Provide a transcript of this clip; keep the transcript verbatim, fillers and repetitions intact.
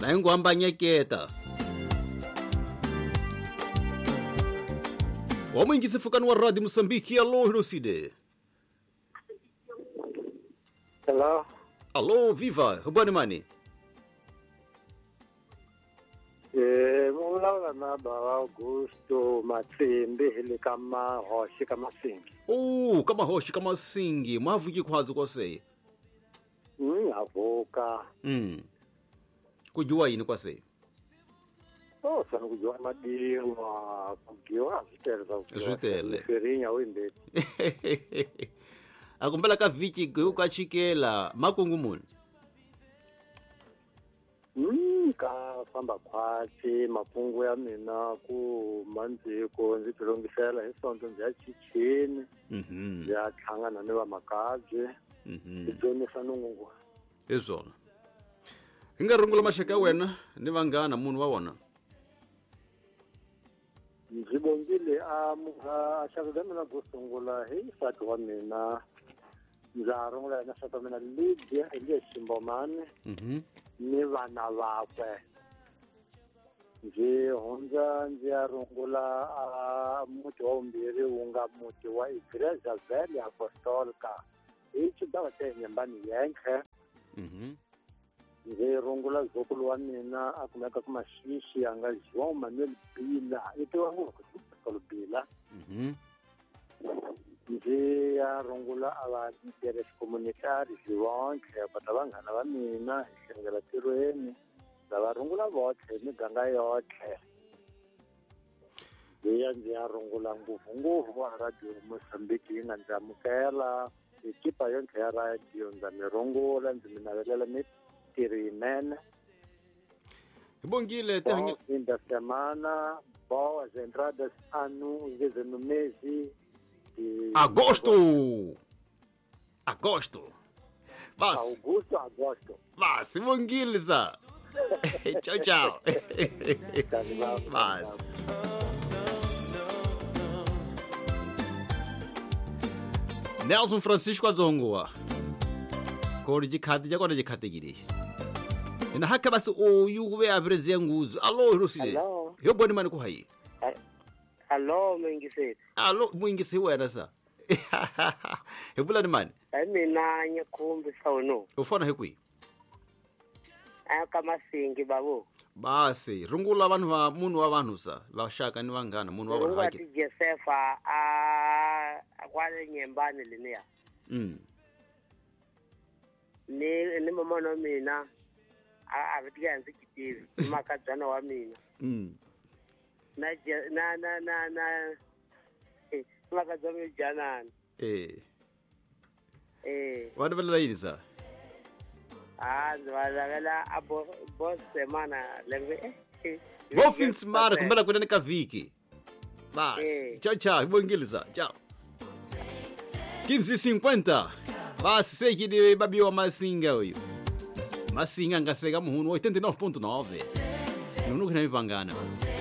Na hinguhambanyeketa. Wamwingise fukani wa Radio Mosambiki. Alô, Hiroside. Hello. Alô, viva. Rubani mani. Eh, vulavula na bava Augusto Matsimbi hi le ka Mahoxi ka Masingi. Oh, ka Mahoxi ka Masingi. Mavuki khwazi kwase. Mm, havuka. Mm. Ku dyiwa yini kwase? Oh, sana ku dyiwa madiwa, ku dyiwa swi tele swa ku dyiwa. Swi tele. Firinya u yimbeti. A kumbela ka vhiki ku ka chikela makungu muni. Mm, ka famba khwatsi makungu ya mina ku mandziko ndzi tilongisela hi sonto ndzi ya chichini. Mhm. Ndzi ya hlangana ni vamakabye. Mhm. Ndzi dyondzisa nungu. Hi swona. Hi nga rungula maxaka ya wena ni vanghana munhu wa wona. Ndzi vongile a a xaka ka mina ku sungula hi nsati wa mina. Ndza rungula yena nsati wa mina Lydia Elias Ximbomani. Mhm. Ni vana vakwe. Ndzi hundza ndzi ya rungula a muti wa vumbirhi wu nga muti wa Igreja Velha Apostolica hi xigava xa Nyembani Yenkhe. Mhm. Ndzi rungula zukulu wa mina a kumeka ku Maxixi a nga João Manuel Bila i tiva ngopfu ku Bila. Mhm. Ndzi ya rungula a va líderes comunitari vonkhe kota vanghana va mina hi hlengela tirhweni ndza va rungula votlhe hi miganga yotlhe. Ndzi ya ndzi ya rungula ngopfungopfu va Radio Mozambique yi nga ndzi amukela ekipa yonkhe ya radio ndza mi rungula ndzi mi navelela mitirho yinene. Hi bongile Bom fim da semana, boas entradas ano no mês de Agosto. Agosto. Vas. Augusto, agosto. Vas, bongile sa. Tchau, tchau. Vas. Nelson Francisco adzongowa. Kori jikhati jakona jikhatekile. Ina haka basi oyu kuve apreziya nguzu. Allo, Hirosile. Allo. Yo boni mani ku hayi. Allo, mwingiseri. Allo, mwingisi wena sa. Hi vula ni mani? Hi mina Nyakhumbi Sawuno. U fona hi kwihi? A ka Masingi babo. Basi, rungula vanhu va munhu wa vanhu sa, vaxaka ni vanghana munhu wa vanhu Rungula hake. ti Josefa a kwale Nyembani leniya. Mm. Ni ni mama wa mina a a vitiya ndzi kitivi, makadzana wa mina. Mm. Na na na na na eh makadzana wa janana. Eh. Eh. Wa lavela yini sa? Ah, ndzi va lavela a bo bo semana lembe. Bo fim de semana kumbela kunene ka vhiki. Basi. Eh. Tchau, tchau. Hi bongile sa. Tchau. quinze e cinquenta. Basi sei que babiwa Masinga uyu. Masinga ngaseka muhunu oitenta e nove ponto nove. Nunuku na mipangana.